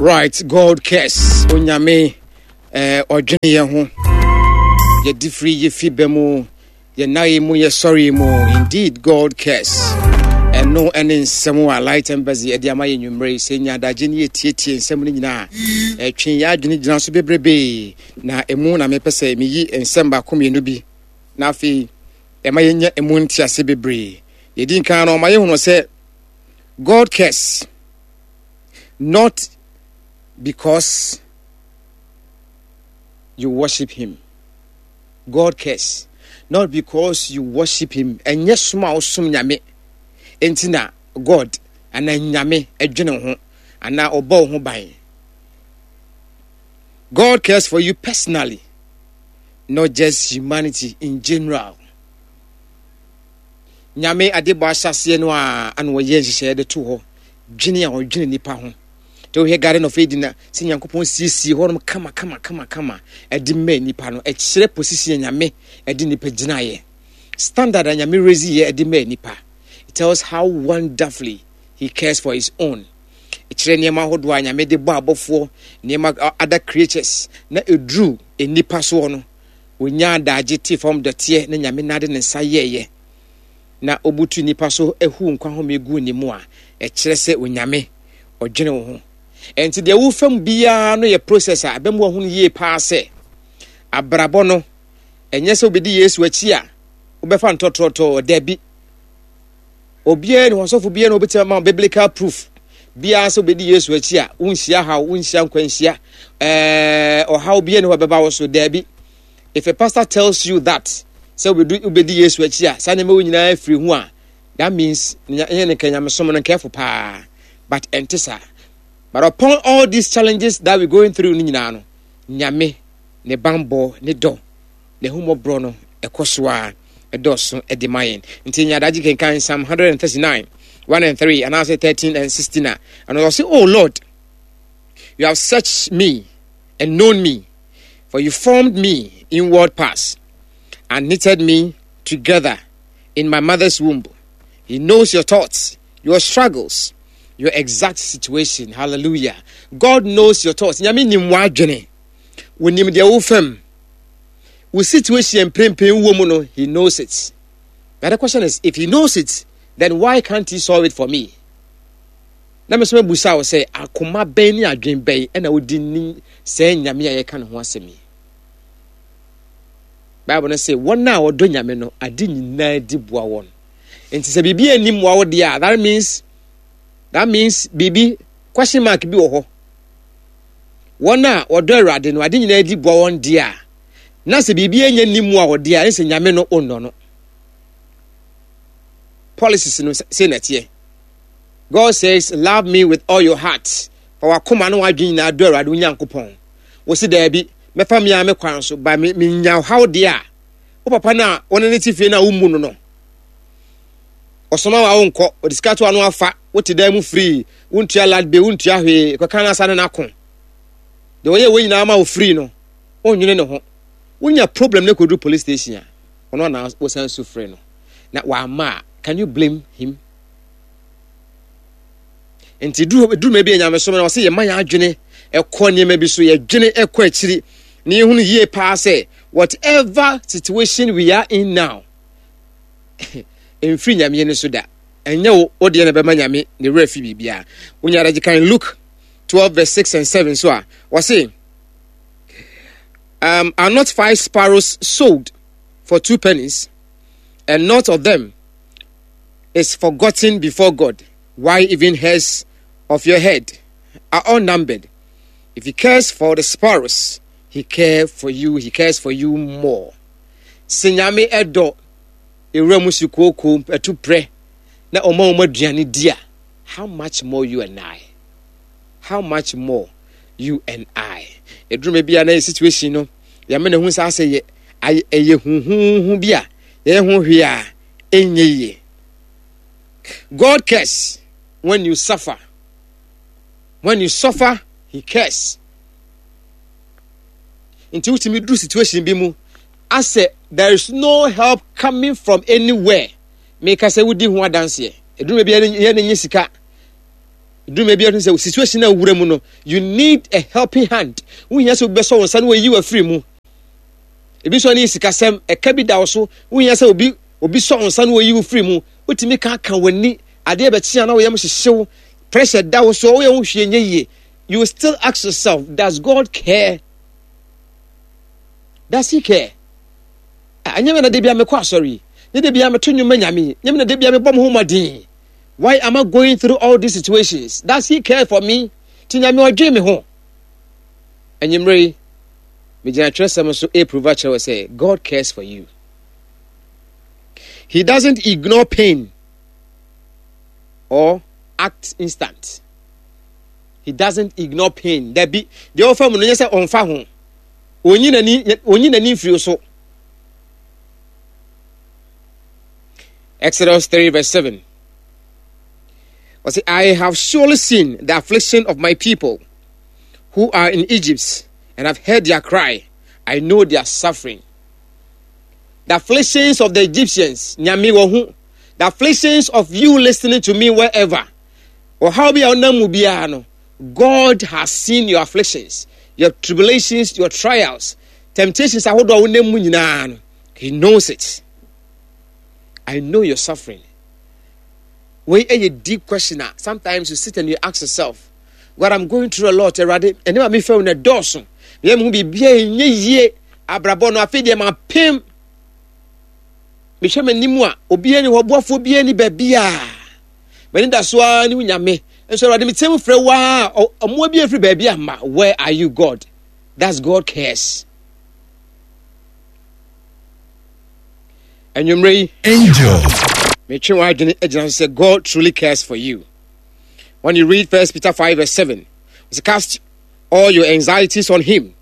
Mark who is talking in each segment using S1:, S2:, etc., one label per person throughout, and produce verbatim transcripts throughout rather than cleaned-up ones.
S1: Right, God cares. Onyame eh, ɔdwene yɛn ho. Yɛdi firi yɛfi bɛ mu, yɛnan mu, yɛsɔre mu. Indeed, God cares. Ɛno ɛne nsɛm a Light Embassy ɛde ama yɛ nwummerɛ yi sɛ nya adagye ne yɛtietie nsɛm no nyinaa. Ɛtwe yɛ adwene gyina so bebrebee na ɛmu na mepɛ sɛ meyi nsɛm baako mmienu bi na afei ɛma yɛnya ɛmu ntease bebree. Yɛdi nkan no, ɔma yɛhunu sɛ God cares not because you worship him. God cares not because you worship him. Ɛnyɛ som a wosom Nyame enti na God anaa Nyame ɛdwene ho anaa ɔbɔ wo ho ban. God cares for you personally, not just humanity in general. Nyame adebɔ ahyɛaseɛ no a ana wɔyɛ nhyehyɛeɛ de to hɔ dwene a ɔdwene nipa ho. Nti wohwɛ Garden of Eden a, sɛ Nyankopɔn siesie hɔnom kama kama kama kama ɛde maa nipa no, ɛkyerɛ position a Nyame ɛde nipa gyinaeɛ. Standard a Nyame raise yɛ ɛde maa nipa. It tells how wonderfully he cares for his own. Ɛkyerɛ nneɛma ahodoɔ a Nyame de bɔ abɔfoɔ, nneɛma other creatures na ɛduru nipa soɔ no, wɔnya adagye te fam dɔteɛ na Nyame nade ne nsa yɛɛyɛ na obutu nipa so ehu nkwa home gu ne mu a, ɛkyerɛ sɛ Onyame ɔdwene wo ho. Ɛnti deɛ wofam biara no yɛ process a ɛbɛmu ahunu yie paa sɛ abrabɔ no ɛnyɛ sɛ wobɛdi Yesu akyi a wobɛfa ntɔtɔtɔ. Dabi, obiara ne hɔsɔfo biara na wobɛtumi ama biblical proof biara sɛ wobɛdi Yesu akyi a wonhyia haw, wonhyia nkwanhyia, ɛɛ ɔhaw biara ne hɔ bɛba wo so. Dabi, if a pastor tells you that sɛ wobɛdi Yesu akyi a saa nneɛma wo nyinaa firi ho a, that means ɛnyɛ ne nka nyamesom no nkɛfo paa, but ɛnte saa. But upon all these challenges that we going through no nyinaa no, Nyame ne banbɔ, ne dɔ, ne hummɔborɔ no ɛkɔ so a ɛdɔɔso ɛde ma yɛn. Nti nyadagye kenkan Psalm one thirty-nine one and three anaasɛ thirteen and sixteen a ɛno ɔse, "Oh Lord, you have searched me and known me, for you formed me inward parts and knitted me together in my mother's womb." He knows your thoughts, your struggles, your exact situation. Hallelujah. God knows your thoughts. Nyame nim w'adwene. Wonim deɛ wofam. Wo situation mprempren wɔ mu no, he knows it. But the question is, if he knows it, then why can't he solve it for me? Na me so mebusa wo sɛ akoma bɛn ne adwen bɛn ɛna wodi ni sɛ Nyame a yɛka ne ho asɛm yi? Bible no sɛ wɔn a wɔdɔ Nyame no, ade nyinaa di boa wɔn. Nti sɛ biribi anim mmoa wo deɛ a, that means that means biribi question mark bi wɔ hɔ. Wɔn a wɔdɔ Awurade no, ade nyinaa di boa wɔn deɛ a, na sɛ biribi anya nim mu a wɔdeɛ a, ɛne sɛ Nyame no ɔnnɔ no. Policies no sɛ na ɛteɛ. God says, "Love me with all your heart." Fa wakoma no wadwene nyinaa dɔ Awurade wo Nyankopɔn. Wosi daabi, mɛfa mmea me kwan so ba me menya haw deɛ a, wo papa no a wɔne ne te fie no a wommu no no, ɔsoma wa wonkɔ, ɔde sika to ano afa, wote dan mu free, wontua light bill, wontua hwee, kɔka no asa ne n'ako. Deɛ ɔyɛ wɔ nyinaa ma wo free no, wonnwene ne ho. Wonya problem ne kɔduru police station a, ɔno ana wosan su frɛ no na wama a, can you blame him? Nti duru duru ma bi nyamesom na ɔsɛ yɛma yɛn adwene ɛkɔ nneɛma bi so, yɛdwene ɛkɔ akyiri na yɛhunu yie paa sɛ whatever situation we are in now, mfiri Nyame no so da. Ɛnyɛ wo wo deɛ na ɛbɛma Nyame ne werɛ fi biribiara. Wonya adagye kan Luke twelve verse six and seven so a, wɔse, um, "Are not five sparrows sold for two pennies, and not of them is forgotten before God? Why, even hairs of your head are all numbered. If he cares for the sparrows, he cares for you, he cares for you more." Sɛ Nyame ɛdɔ ewura mu si kooko ɛtu prɛ na ɔma wɔn aduane di a, how much more you and I? How much more you and I? Eduruma bi a na yɛ situation no, yɛmɛ na ehu saa sɛ yɛ ɛyɛ huhuhu bi a yɛyɛ ho hwee a ɛnyɛ yie. God cares when you suffer. When you suffer, he cares. Nti wotumi duru situation bi mu asɛ there is no help coming from anywhere. Meka sɛ wodi ho adanseɛ. Eduruma bi yɛ ne nye sika. Duru bi sɛ situation a wura mu no, you need a helping hand. Wohia sɛ obi bɛsɔ wo nsa na wayi wo afiri mu. Ebi nso ne sikasɛm, ɛka bi da wo so, wohia sɛ obi obi sɔ wo nsa na wayi wo firi mu. Wotumi ka ka w'ani, adeɛ bɛkye a na woyam hyehyew, pressure da wo so, woyɛ ho hwee nyɛ yie. You will still ask yourself, does God care? Does he care? Ɛnyɛ me na de bia mekɔ asɔre yi, ne de bia meto nnwom ma Nyame yi, nyɛ me na de bia mebɔ me ho mmɔden. Why am I going through all these situations? Does he care for me? Ti Nyame ɔdwen me ho. Anwummerɛ yi, megyina twerɛsɛm so ɛprove akyerɛ wɔ sɛ God cares for you. He doesn't ignore pain or act instant. He doesn't ignore pain. Dabi, deɛ ɔfa mu no nyɛ sɛ ɔmfa ho. Onyi n'ani onyi n'ani mfiri so. Exodus three verse seven. I have surely seen the affliction of my people who are in Egypt, and have heard their cry. I know their suffering. The afflictions of the Egyptians, Nyame wɔ ho. The afflictions of you listening to me wherever. Or how be our no. God has seen your afflictions, your tribulations, your trials, temptations. Ahodoɔ a wonam mu nyinaa no, He knows it. I know your suffering. Wei ɛyɛ deep question a sometimes you sit and you ask yourself, God, I'm going through a lot. Awurade, ɛne ma mefɛ wo na ɛdɔɔso. Meyɛ me ho biribiara ɛnyɛ yie. Abrabɔ no afei deɛ mapem. Mehwɛ m'anim a obiara ni hɔ, ɔboafoɔ biara ni baabi a. M'ani da so ara ne wo Nyame. Nso Awurade, meteɛ mu frɛ wo a, ɔmmoa bi afiri baabi amma. Where are you, God? That's God cares. Anwummerɛ yi,
S2: Angel.
S1: Metwe w'adwene agyina so sɛ God truly cares for you. When you read First Peter five verse seven, it says, cast all your anxieties on him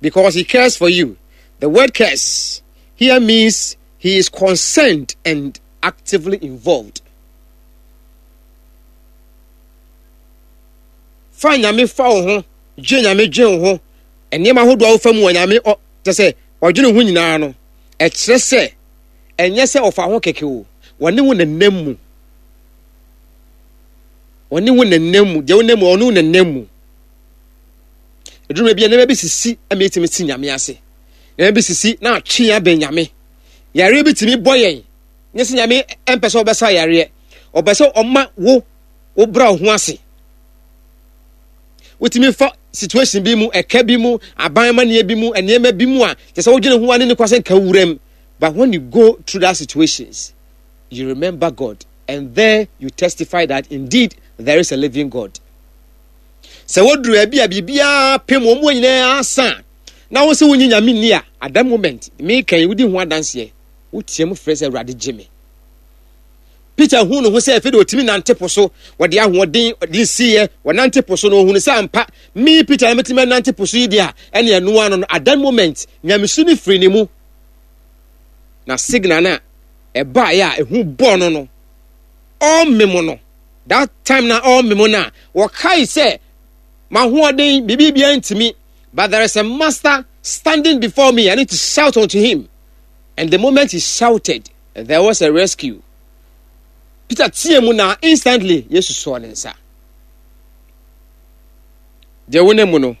S1: because he cares for you. The word cares here means he is concerned and actively involved. Fa Nyame fa wo ho, dwe Nyame dwe wo ho, nneɛma ahodoɔ a wofa mu wɔ Nyame ɔ, kyɛ sɛ ɔdwene ho nyinaa no, ɛkyerɛ sɛ ɛnyɛ sɛ ɔfa ho kɛkɛ o, wɔne wo nenam mu. Wɔne wo nenam mu, deɛ wonam mu, ɔne wo nenam mu. Eduruma bi a nneɛma bi sisi ama yɛtumi si Nyame ase. Nneɛma bi sisi na atwe yɛn abɛn Nyame. Yareɛ bi tumi bɔ yɛn. Nyɛ sɛ Nyame mpɛ sɛ ɔbɛsa yareɛ. Ɔpɛ sɛ ɔma wo wo bra wo ho ase. Wotumi fa situation bi mu, ɛka bi mu, aban amanneɛ bi mu, nneɛma bi mu a kyerɛ sɛ wodwene ho a ne ne kwa sɛ nka wuram. But when you go through that situations, you remember God, and there you testify that indeed there is a living God. Sɛ woduru baabi a biribiara pem wɔn mu nyinaa asa na wo sɛ wonyi Nyame nni a, at that moment, meka yi, wodi ho adanseɛ, woteɛ mu frɛ sɛ Awurade gye me. Peter hu ne ho sɛ afei de ɔtumi nante po so, wɔde ahoɔden de nsiiɛ, wɔnante po so no, ɔhunu sɛ ampa, me Peter na mɛtumi anante po so yi deɛ a, ɛne ɛno ano no, at that moment, nyamesu no firi ne mu. Na signal no a ɛbaeɛ a ɛhu bɔɔ no no, ɔmmem no, that time na ɔmmem no a, wɔkae sɛ, m'ahoɔden, biribi biara ntumi, but there is a master standing before me, I need to shout unto him. And the moment he shouted, there was a rescue. Peter teɛ mu na instantly, Yesu sɔɔ ne nsa. Deɛ wonam mu no,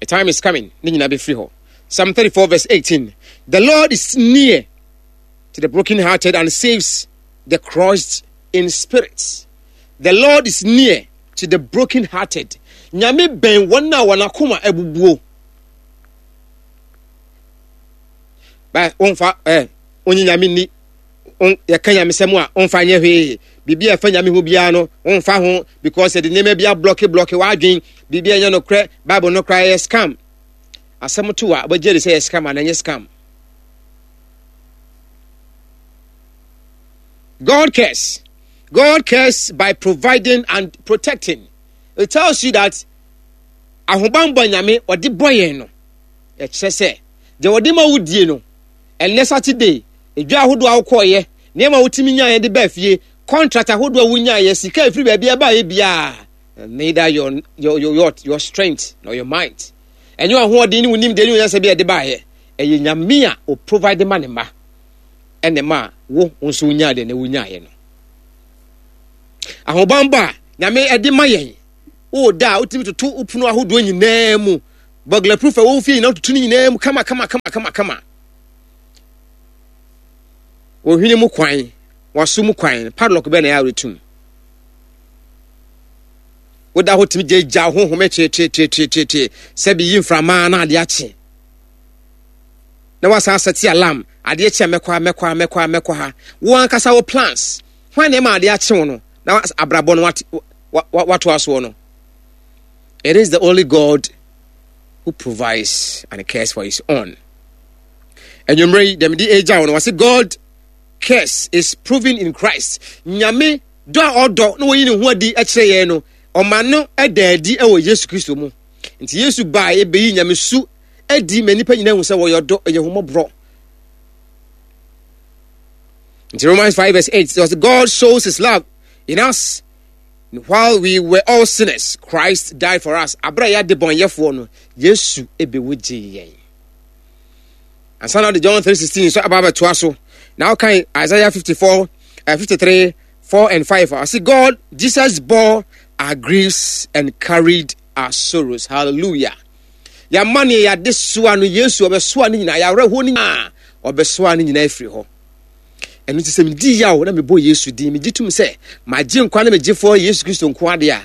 S1: a time is coming, ne nyinaa bɛfiri hɔ. Psalm thirty-four verse eighteen, the Lord is near to the brokenhearted and saves the crushed in spirit. The Lord is near to the brokenhearted. Nyame bɛn wɔn a wɔn akoma abubuo. Ba, wɔmfa, eh, onye Nyame ni, on, yɛka nyamesɛm a, ɔmfa nyɛ hwee. Biribi a ɛfa Nyame ho biara no, ɔmfa ho, because yɛde nneɛma bi ablɔke blɔke w'adwen. Biribi a ɛnyɛ nokorɛ, Bible no koraa yɛ scam. Asɛm to a, wobɛgye adi sɛ yɛ scam anaa ɛnyɛ scam. God cares. God cares by providing and protecting. It tells you that ahobammɔ Nyame ɔde bɔ yɛn no, ɛkyerɛ sɛ deɛ ɔde ma wo die no, ɛnnɛ Saturday, edwa ahodoɔ a wokɔɔyɛ, nneɛma a wotumi nyaeɛ de baa fie, contract ahodoɔ a wonyaeɛ, sika efiri baabi a ɛbaeɛ biara, neither your, your, your, your, your strength nor your might. Ɛnyɛ ahoɔden ne wo nimdeɛ ne wo nyansa bi a ɛde baeɛ. Ɛyɛ Nyame a o provide ma ne mma. Ɛna ma wo nso wonyaa deɛ na wonyaeɛ no. Ahobammɔ a Nyame ɛde ma yɛn. Woda a, wotumi toto wo pono ahodoɔ nyinaa mu, burglar proof a wɔwɔ fie nyinaa, wototo no nyinaa mu kama kama kama kama kama. Ohwene mu kwan, waso mu kwan, padlock bɛn na ɛyɛ a woretum? Woda hɔ tumi gyagya honhom tietietie sɛ bi yi mframa na adeɛ akye na wasan asɛte alarm, adeɛ kye a mɛkɔ ha, mɛkɔ ha, mɛkɔ ha, mɛkɔ ha. Wo ankasa wo plans hwan na ɛma adeɛ akye wo no na abrabɔ no watoa soɔ no? It is the only God who provides and cares for his own. Anwummerɛ yi dɛm de agya wo no, wɔse God cares is proven in Christ. Nyame dɔ a ɔdɔ na wɔyi ne ho adi kyerɛ yɛn no, ɔma no da adi wɔ Yesu Kristo mu. Nti Yesu baa ɛbɛyi Nyame su adi ma nnipa nyinaa hu sɛ wɔyɛ ɔdɔ, ɛyɛ homɔborɔ. Nti Romans five verse eight says, "God shows his love in us: while we were all sinners, Christ died for us." Abere a yɛade bɔnyɛfoɔ no, Yesu ɛbɛwu gyee yɛn. Ansa na ɔde John three sixteen nso aba abɛtoa so na ɔkan Isaiah fifty-four, uh, fifty-three four and five. I see God, Jesus bore our griefs and carried our sorrows. Hallelujah. Yɛama ne yɛade soa no, Yesu ɔbɛsoa no nyinaa, yɛawerɛhoɔ no nyinaa ɔbɛsoa no nyinaa afiri hɔ. Ɛno nti sɛ medi yaw na mebɔ Yesu din, megye tom sɛ magye nkwa ne megyefoɔ Yesu Kristo nko adeɛ a,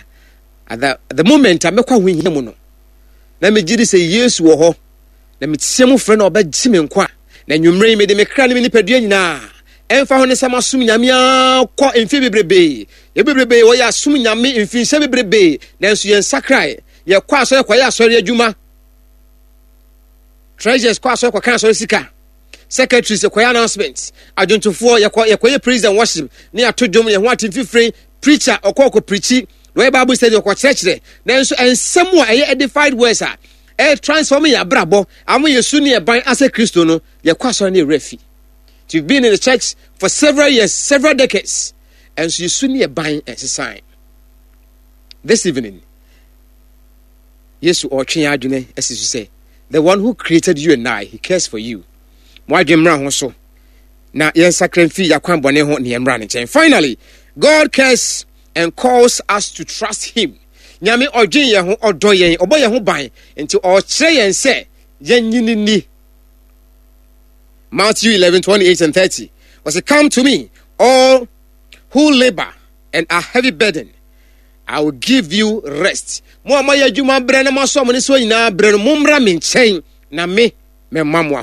S1: at the, the moment a mɛkɔ ahohia mu no na megye di sɛ Yesu wɔ hɔ na meteɛ mu frɛ no, ɔbɛgye me nkwa. Na nwummerɛ yi mede me kra ne me nipadua nyinaa, ɛmfa ho ne sɛ masom Nyame akɔ mfe bebrebee, yɛ bebrebee wɔyɛ asom Nyame mfinhyɛ bebrebee, nanso yɛn sakrae. Yɛkɔ asɔre kɔyɛ asɔre adwuma, treasurers kɔ asɔre kɔka asɔre sika, secretaries yɛkɔyɛ announcement, adwontofoɔ yɛkɔ yɛkɔyɛ praise and worship ne yɛato dwom, yɛn ho ate mfifire, preacher ɔkɔ ɔkɔ preachi na ɔyɛ Bible study, ɔkɔ kyerɛkyerɛ, nanso nsɛm a ɛyɛ edified words a ɛyɛ transform yɛ abrabɔ ama yɛ su ne ɛban asɛ Kristo no, yɛkɔ asɔre ne yɛwerɛ fi. You've been in the church for several years, several decades, and so yɛ su ne ɛban ɛnsesan. This evening, Yesu ɔretwe yɛn adwene asi so sɛ the one who created you and I, he cares for you. Mo adwene mmra ho so na yɛnsakra mfi yɛakwan bɔne ho ne yɛmmra ne nkyɛn. Finally, God cares and calls us to trust him. Nyame ɔdwen yɛn ho, ɔdɔ yɛn, ɔbɔ yɛn ho ban, nti ɔkyerɛ yɛn sɛ yɛnyini ni. Matthew eleven twenty-eight and thirty was, "Come to me, all who labor and are heavy burden, I will give you rest." Mo a moayɛ adwuma brɛ na moaso mo ne so nyinaa brɛ no, mommra me nkyɛn na me mɛma mo.